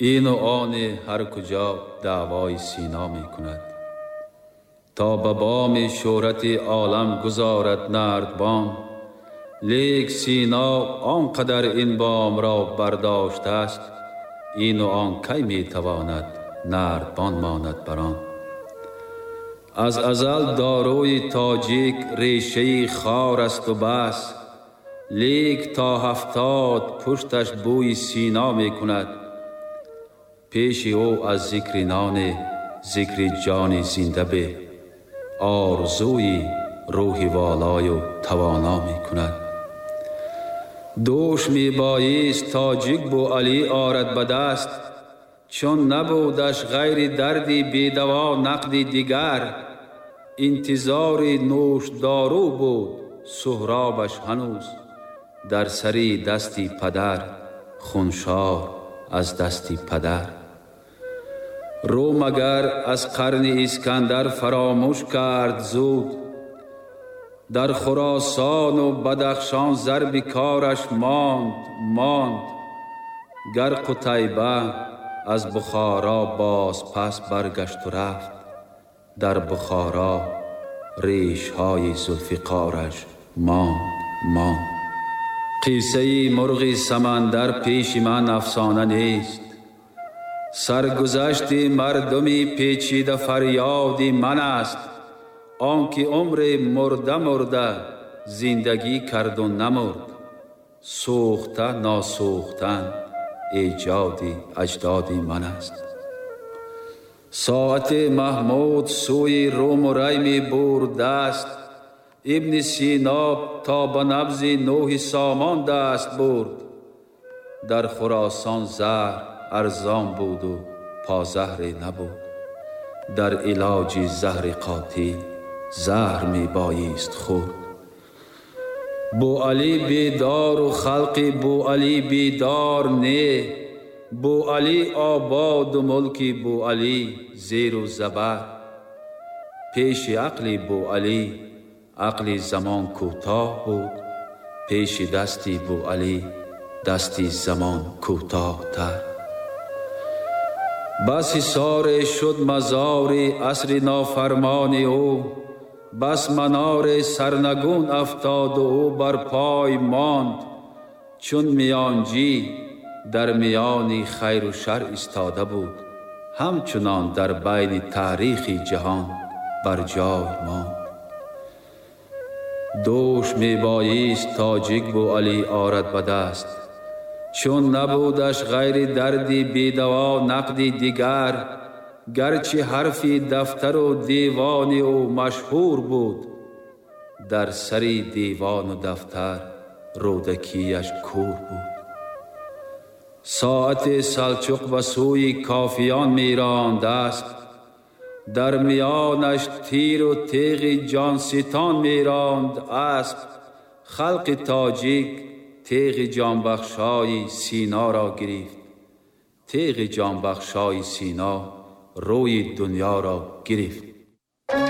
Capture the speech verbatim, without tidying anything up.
Ину они ҳар куҷо даъвои Сино мекунад. То ба боми шӯҳрати олам гузорад нардбон, лек Сино он қадар ин бомро бардоштааст, ину он кай метавонад нардбон монад бар он. Аз азал дорои тоҷик решаи хор аст у бас, лек то ҳафтод пушташ бӯи Сино мекунад. Пеши ӯ аз зикри ноне зикри ҷони зинда бе, орзуи рӯҳи волою тавоно мекунад. Дӯш мебоист тоҷик Бӯалӣ орад ба даст, чун набудаш ғайри дарди бедаво нақди дигар. Интизори нӯшдору буд Суҳробаш ҳанӯз, дар сари дасти падар хуншор аз дасти падар. Рӯ магар аз қарни Искандар фаромӯш кард зуд, дар Хуросону Бадахшон зарби кораш монд монд. Гар Қутайба аз Бухоро боз пас баргашту рафт, дар Бухоро решҳои Зулфиқораш монд монд. Қиссаи мурғи самандар пеши ман афсона нест, саргузашти мардуми печида фарёди ман аст. Он ки умри мурда мурда зиндагӣ карду намурд, сӯхта носӯхтан эҷоди аҷдоди ман аст. Соати Маҳмуд сӯи Руму Рай мебурд даст, Ибни Сино то ба набзи Нӯҳи Сомон даст бурд. Дар Хуросон заҳр арзон буду позаҳре набуд, дар илоҷи заҳри қотил заҳр мебоист хӯрд. Бӯалӣ бедору халқи Бӯалӣ бедор не, Бӯалӣ ободу мулки Бӯалӣ зеру забар. Пеши ақли Бӯалӣ ақли замон кӯтоҳ буд, пеши дасти Бӯалӣ дасти замон кӯтоҳтар. Бас ҳисоре шуд мазори асри нофармони ӯ, бас манори сарнагун афтоду ӯ бар пой монд. Чун миёнҷӣ дар миёни хайру шар истода буд, ҳамчунон дар байни таърихи ҷаҳон бар ҷой монд. Дӯш мебоист тоҷик Бӯалӣ орад ба даст, чун набудаш ғайри дарди бедаво нақди дигар. Гарчи ҳарфи дафтару девони ӯ машҳур буд, дар сари девону дафтар рӯдакияш кӯр буд. Соати Салчуқ ба сӯи кофиён меронд аст, дар миёнаш тиру теғи ҷонситон меронд асп. Халқи тоҷик теғи ҷонбахшои Синоро гирифт, теғи ҷонбахшои Сино рӯи дунёро гирифт.